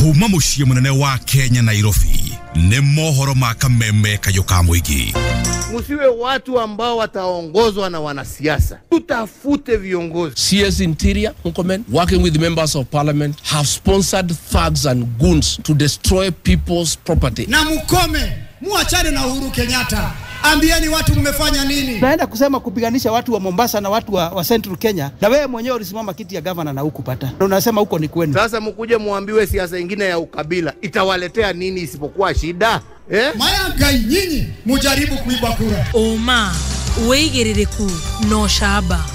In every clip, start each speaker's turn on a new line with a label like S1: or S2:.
S1: Kuma muciĩ munene wa Kenya, Nairobi, nĩ mohoro ma kameme kayũ ka mũingĩ.
S2: Msiwe watu ambao wataongozwa na wanasiasa, tutafute viongozi.
S3: CS Interior Murkomen, working with members of parliament, have sponsored thugs and goons to destroy people's property.
S4: Na mukome, muachane na Uhuru Kenyatta. Ambieni watu mmefanya nini?
S5: Naenda kusema kupiganisha watu wa Mombasa na watu wa Central Kenya, na wewe mwenyewe ulisimama kiti ya gavana na hukupata. Unasema huko ni kwenu.
S2: Sasa mkuje muambiwe siasa ingine ya ukabila itawaletea nini isipokuwa shida? Eh?
S4: Maya nyinyi mujaribu kuiba kura.
S6: Oma wigiririku no shaba.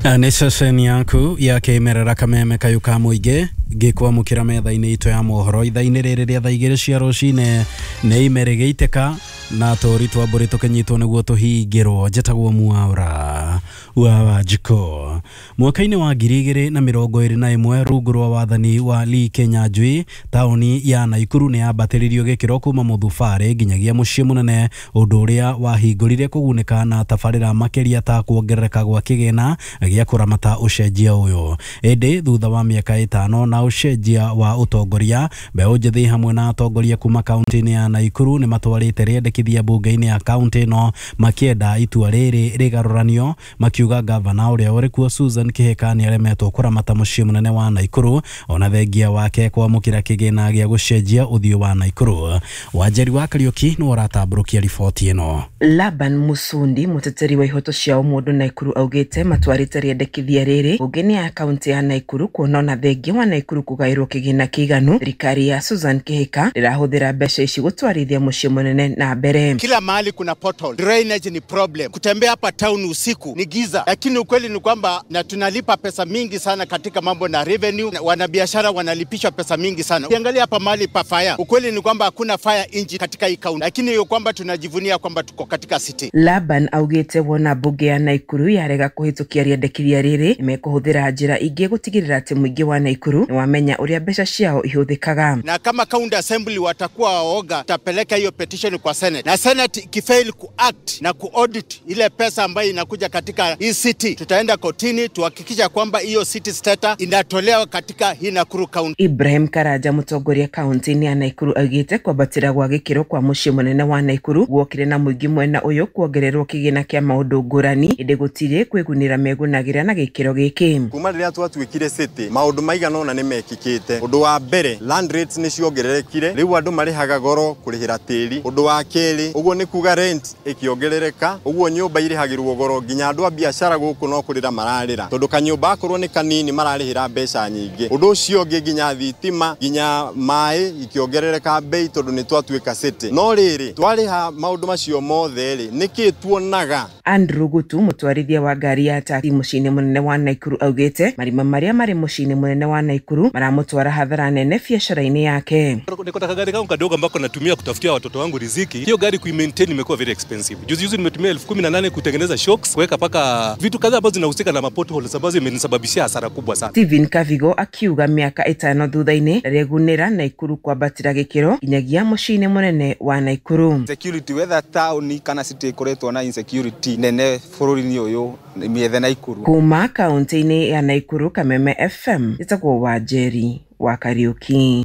S7: Nĩ ceceni yaku ya kĩmerera kameme kayũ ka mũingĩ ngĩkwamũkĩra metha-inĩ itũ ya mohoro ithaa-inĩ rĩrĩ rĩa thaa igĩrĩ cia rũcinĩ. Nĩ ime rĩgĩitĩka na tũri twa mbũri tũkĩnyitwo nĩguo tũhingĩrwo. Njĩtagwo Mwaura wa Wanjikũ. Mwaka-inĩ wa 2021 rungu rwa wathani wa Lee Kinyanjui, taũni ya Naikuru nĩ yambatĩrĩirio gĩkĩro kuma mũthubarĩ nginyagia mũciĩ mũnene, ũndũ ũrĩa wahingũrire kũgunĩka na tabarĩra makĩria ta kuongerereka gwa kĩgĩna gĩa kũramata ũcenjia ũyũ. Ĩndĩ thutha wa mĩaka 5 na ũcenjia wa ũtongoria, mbeũ njĩthĩ hamwe na atongoria kuma kaunti-inĩ ya Naikuru nĩ matwarĩte rĩendekithia mbunge-inĩ ya kaunti ĩno makĩenda itua rĩrĩ rĩgarũranio, makiuga gavana ũrĩa ũrĩ kuo Susan Kihika nĩaremetwo kũramata mũciĩ mũnene wa Naikuru ona thengia wake kwamũkĩra kĩgĩna gĩa gũcenjia ũthiũ wa Naikuru. Wanjeri wa Kariũki nĩwe ũratambũrũkia riboti ĩno.
S8: Laban Musundi, mũteteri wa ihoto cia ũmũndũ Naikuru, augĩte matwarĩte rĩendekithia rĩrĩ mbunge-inĩ ya kaunti ya Naikuru kuona ona thengia wa Naikuru kũgaĩrwo kĩgĩna kĩiganu, thirikari ya Susan Kihika ndĩrahũthĩra mbeca ici gũtwarithia mũciĩ mũnene na mbere.
S9: Kila mahali kuna pothole, drainage ni problem, kutembea hapa town usiku ni giza, lakini ukweli ni kwamba na tunalipa pesa mingi sana katika mambo na revenue, wanabiashara wanalipishwa pesa mingi sana. Ukiangalia hapa mahali pa fire, ukweli ni kwamba hakuna fire engine katika hii kaunti, lakini hiyo kwamba tunajivunia kwamba tuko katika city.
S8: Laban augĩte wona mbunge ya Naikuru yarega kũhĩtũkia rĩendekithia rĩrĩ, nĩmekũhũthĩra njĩra ingĩ gũtigĩrĩra atĩ mũingĩ wa Naikuru nĩwamenya ũrĩa mbeca ciao ihũthĩkaga.
S9: Na kama county assembly watakuwa waoga, tutapeleka hiyo petition kwa Senate, na Senate ikifail kuact na kuaudit ile pesa ambayo inakuja katika hii city, tutaenda kotini tuhakikisha kwamba hiyo city status inatolewa katika hii Nakuru County.
S8: Ibrahim Karaja, mũtongoria kaunti-inĩ ya Naikuru, augĩte kwambatĩra gwa gĩkĩro kwa mũciĩ mũnene wa Naikuru guokire na mũingĩ mwena ũyũ kuongererwo kĩgĩna kĩa maũndũ ngũrani, ĩndĩ gũtirĩ kwĩgunĩra megunagĩra na gĩkĩro gĩkĩ.
S10: Kuma rĩrĩa twatuĩkire city, maũndũ maigana ũna nĩ mekĩkĩte. Ũndũ wa mbere, land rates nĩ ciongererekire, rĩu andũ marĩhaga goro kũrĩhĩra tĩri. Ũndũ wa kerĩ, ũguo nĩ kuga rent ĩkĩongerereka, ũguo nyũmba irĩhagĩrwo goro nginya andũ a biacara gũkũ no kũrĩra mararĩra, tondũ kanyũmba akorwo nĩ kanini mararĩhĩra mbeca nyingĩ. Ũndũ ũcio ũngĩ, nginya thitima, nginya maĩ ikĩongerereka bei tondũ nĩ twatuĩka city. No rĩrĩ, twarĩha maũndũ macio mothe rĩ, nĩkĩ tuonaga?
S8: Andrew Gutu, mũtwarithia wa ngari ya taxi mũciĩ-inĩ mũnene wa Naikuru, augĩte marima marĩa marĩ mũciĩ-inĩ mũnene wa Naikuru maramũtwara hathara nene biacara-inĩ yake.
S11: Niko na gari kangu kadogo ambako natumia kutafutia watoto wangu riziki. Hiyo gari kuimaintain imekuwa very expensive. Juzi juzi nimetumia 18,000 kutengeneza shocks, kuweka paka vitu kadhaa ambazo zinahusika na potholes ambazo imenisababishia hasara kubwa sana.
S8: Steven Kavigo akiuga mĩaka 5 thutha-inĩ ndarĩgunĩra Naikuru kwambatĩra gĩkĩro nginyagia mũciĩ-inĩ mũnene wa Naikuru.
S12: Security whether town kana city ikoretwo na insecurity nene bũrũri-inĩ ũyũ mĩethe Naikuru.
S8: Kuma kaunti-inĩ ya Naikuru, Kameme FM, ĩtagwo Wanjeri wa Kariũki.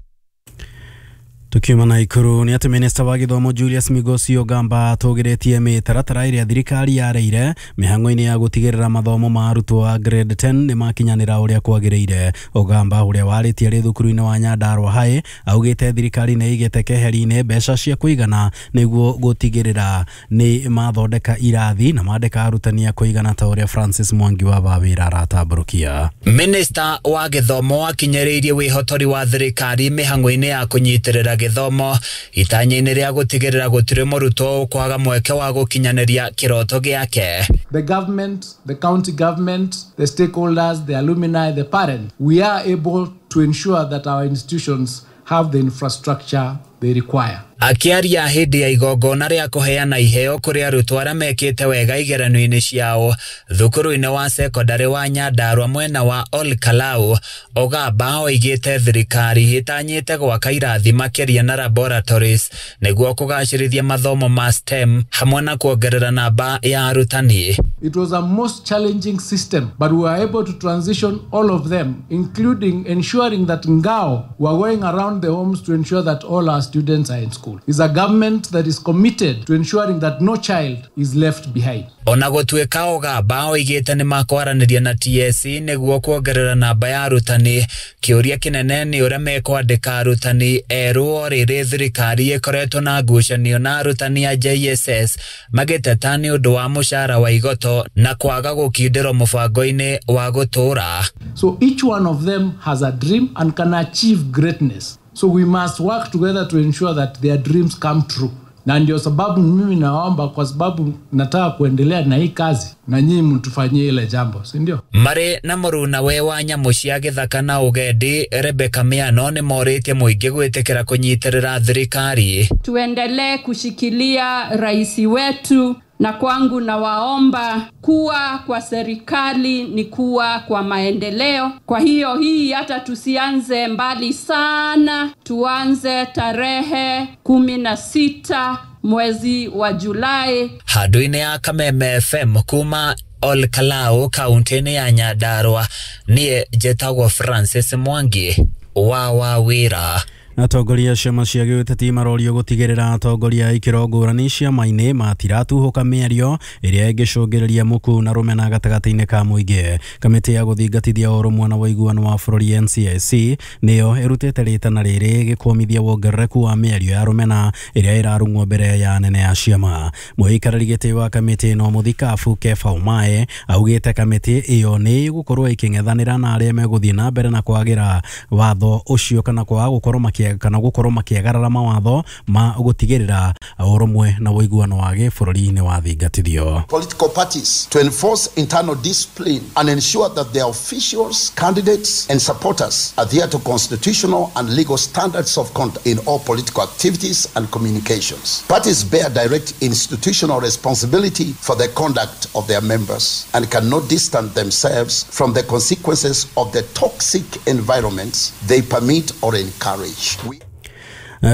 S7: Tukiuma Naikuru nĩ atĩ minista wa gĩthomo Julius Migosi Ogamba atũgĩrĩtie mĩtaratara ĩrĩa thirikari yareire mĩhang'o-inĩ ya gũtigĩrĩra mathomo ma arutwo a grade 10 nĩ makinyanĩra ũrĩa kwagĩrĩire. Ogamba ũrĩa warĩtie arĩ thukuru-inĩ wa Nyandarua High augĩte thirikari nĩ ĩigĩte keheri-inĩ mbeca cia kũigana nĩguo gũtigĩrĩra nĩ mathondeka irathi na mandĩka arutani a kũigana ta ũrĩa Francis Mwangi wa Wawĩra aratambũrũkia.
S13: Minista wa gĩthomo akinyĩrĩirie wĩhotori wa thirikari mĩhang'o-inĩ ya kũnyitĩrĩra gĩthomo itanya-inĩ rĩa gũtigĩrĩra gũtirĩ mũrutwo ũkwaga mweke wa gũkinyanĩria kĩroto gĩake.
S14: The government, the county government, the stakeholders, the alumni, the parents, we are able to ensure that our institutions have the infrastructure they require.
S13: Akĩaria hĩndĩ ya igongona rĩa kũheana iheo kũrĩ arutwo arĩa mekĩte wega igeranio-inĩ ciao thukuru-inĩ wa sekondarĩ wa Nyandarua mwena wa Ol Kalou, Ogamba oigĩte thirikari ĩtanyĩte gwaka irathi makĩria na laboratories nĩguo kũgacĩrithia mathomo ma STEM hamwe na kuongerera namba ya arutani.
S14: It was a most challenging system, but we were able to transition all of them, including ensuring that Ngao were going around the homes to ensure that all our students are in school. It's a government that is committed to ensuring that no child is left behind.
S13: Ona gũtuĩka Ogamba oigĩte nĩ makwaranĩria na TSC nĩguo kuongerera namba ya arutani, kĩũria kĩnene nĩ ũrĩa mekwandĩka arutani erũ o rĩrĩ thirikari ĩkoretwo na ngucanio na arutani a JSS magĩteta nĩ ũndũ wa mũcara wa igoto na kwaga gũkindĩrwo mũbango-inĩ wa gũtũũra.
S14: So each one of them has a dream and can achieve greatness. So we must work together to ensure that their dreams come true. Na ndio sababu mimi naomba, kwa sababu nataka kuendelea na hii kazi na nyinyi mtufanyie ile jambo, si ndio?
S13: Marĩ na mũrunawe wa nyamũ cia gĩthaka na ũgendi Rebecca Miano nĩ morĩtie mũingĩ gwĩtĩkĩra kũnyitĩrĩra thirikari.
S15: Tuendelee kushikilia rais wetu, na kwangu nawaomba kuwa kwa serikali ni kuwa kwa maendeleo. Kwa hiyo hii hata tusianze mbali sana, tuanze tarehe 16 mwezi wa Julai.
S13: Handũ-inĩ ya Kameme FM kuma Ol Kalou kaunti-inĩ ya Nyandarua, niĩ njĩtagwo Francis Mwangi wa Wawira.
S7: Atongoria a ciama cia gĩũteti marorio gũtigĩrĩra atongoria a ikĩro ngũrani ciama-inĩ matiratuhũka mĩario ĩrĩa ĩngĩcũngĩrĩria mũku na rũmena gatagatĩ-inĩ ka mũingĩ. Kamĩtĩ ya gũthingatithia ũrũmwe na ũiguano wa bũrũri NCIC nĩyo ĩrutĩte rĩtana rĩrĩ gĩkũmithia wongerereku wa mĩario ya rũmena ĩrĩa ĩrarung'wo mbere ya anene a ciama. Mũikarĩri gĩtĩ wa kamĩtĩ ĩno mũthikabu Kepha Ũmae augĩte kamĩtĩ ĩyo nĩ ĩgũkorwo ĩkĩng'ethanĩra na arĩa megũthiĩ na mbere na kwagĩra watho ũcio kana kwaga gũkorwo kana gũkorwo makĩagarara mawatho ma gũtigĩrĩra ũrũmwe na ũiguano wa gĩbũrũri nĩ wathingatithio.
S16: Political parties to enforce internal discipline and ensure that their officials, candidates and supporters adhere to constitutional and legal standards of conduct in all political activities and communications. Parties bear direct institutional responsibility for the conduct of their members and cannot distance themselves from the consequences of the toxic environments they permit or encourage.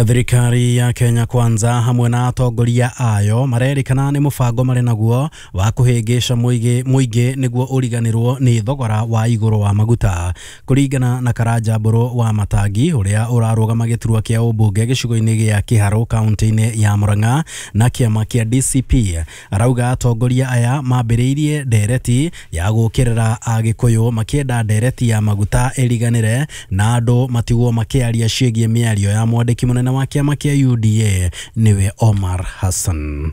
S7: Thirikari ya Kenya Kwanza hamwe na atongoria ayo marerĩkana nĩ mũbango marĩ naguo wa kũhĩngĩca mũingĩ nĩguo ũriganĩrwo nĩ thogora wa igũrũ wa maguta. Kũringana na Karanja Mbũrũ wa Matangi ũrĩa ũrarũgama gĩturwa kĩa ũmbunge gĩcigo-inĩ gĩa Kĩharũ kaunti-inĩ ya Murang'a na kĩama kĩa DCP, arauga atongoria aya mambĩrĩirie ndereti ya gũũkĩrĩra Agĩkũyũ makĩenda ndereti ya maguta ĩriganĩre na andũ matigwo makĩaria ciĩgiĩ mĩario ya mwandĩki mũnene wa kĩama kĩa UDA nĩwe Omar Hassan.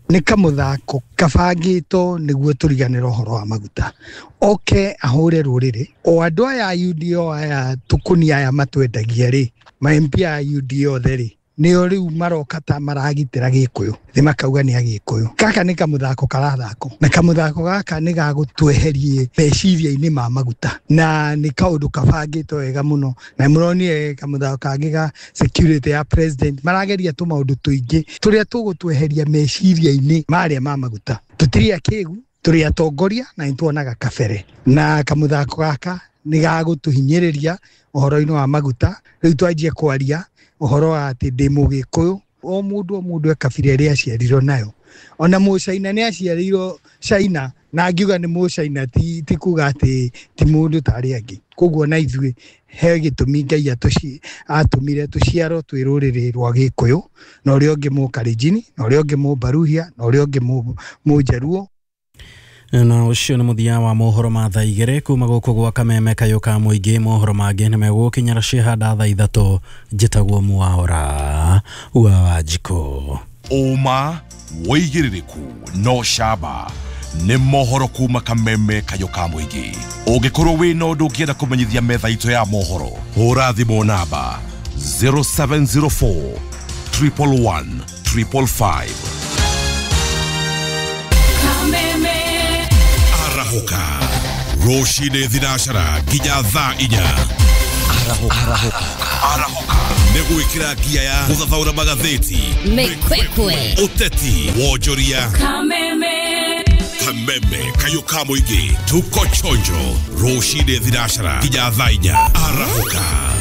S17: Nĩ kamũthako kabangĩtwo nĩguo tũriganĩre ũhoro wa maguta, oke ahũre rũrĩrĩ o andũ aya a UDA aya tũkũnia aya matwendagia rĩ, ma MP aya UDA othe rĩ, nĩo rĩu maroka ta maragitĩra Gĩkũyũ, nĩ makauga nĩ Agĩkũyũ. Gaka nĩ kamũthako karathako, na kamũthako gaka nĩ gagũtweherie meciria-inĩ ma maguta, na nĩ kaũndũ kabangĩtwo wega mũno, na mũronire kamũthako kangĩ ga security ya president, marageria tũmaũndũ tũingĩ tũrĩa tũgũtweheria meciria-inĩ marĩa ma maguta. Tũtirĩ akĩgu, tũrĩ atongoria na nĩtuonaga kabere, na kamũthako gaka nĩ gagũtũhinyĩrĩria ũhoro-inĩ wa maguta. Rĩu twanjie kwaria ũhoro wa atĩ ndĩ mũgĩkũyũ, o mũndũ e kabira ĩrĩa aciarirwo nayo. Ona mũcaina nĩ aciarĩirwo China, na angiuga nĩ mũcaina ti kuga atĩ ti mũndũ ta arĩa angĩ. Koguo na ithuĩ he gĩtũmi Ngai atũmire tũciarwo twĩ rũrĩrĩ rwa Gĩkũyũ, na ũrĩa ũngĩ mũkalenjini, na ũrĩa ũngĩ mũbaruhia, na ũrĩa ũngĩ mũnjaruo.
S7: Na ũcio nĩ mũthia wa mohoro ma thaa igĩrĩ kuma gũkũ gwa Kameme kayũ ka mũingĩ. Mohoro mangĩ nĩ megũkinyĩra ciĩhanda thaa ithatũ. Njĩtagwo Mwaũra wa Wanjikũ.
S1: Ũma wĩigĩrĩrĩku no camba nĩ mohoro kuma Kameme kayũ ka mũingĩ. Ũngĩkorwo wĩna ũndũ ũngĩenda kũmenyithia metha itũ ya mohoro, hũra thimũ namba 0704 111 555. Arahũka rũcinĩ thinacara nginya thaa inya. Arahũka. Arahũka. Nĩ gwĩkĩra ngia ya gũthathaũra magathĩti,
S6: Mĩkwekwe.
S1: Ũteti, wonjoria,
S6: Kameme.
S1: Kameme kayũ ka mũingĩ. Tuko chonjo rũcinĩ thinacara nginya thaa 4. Arahũka.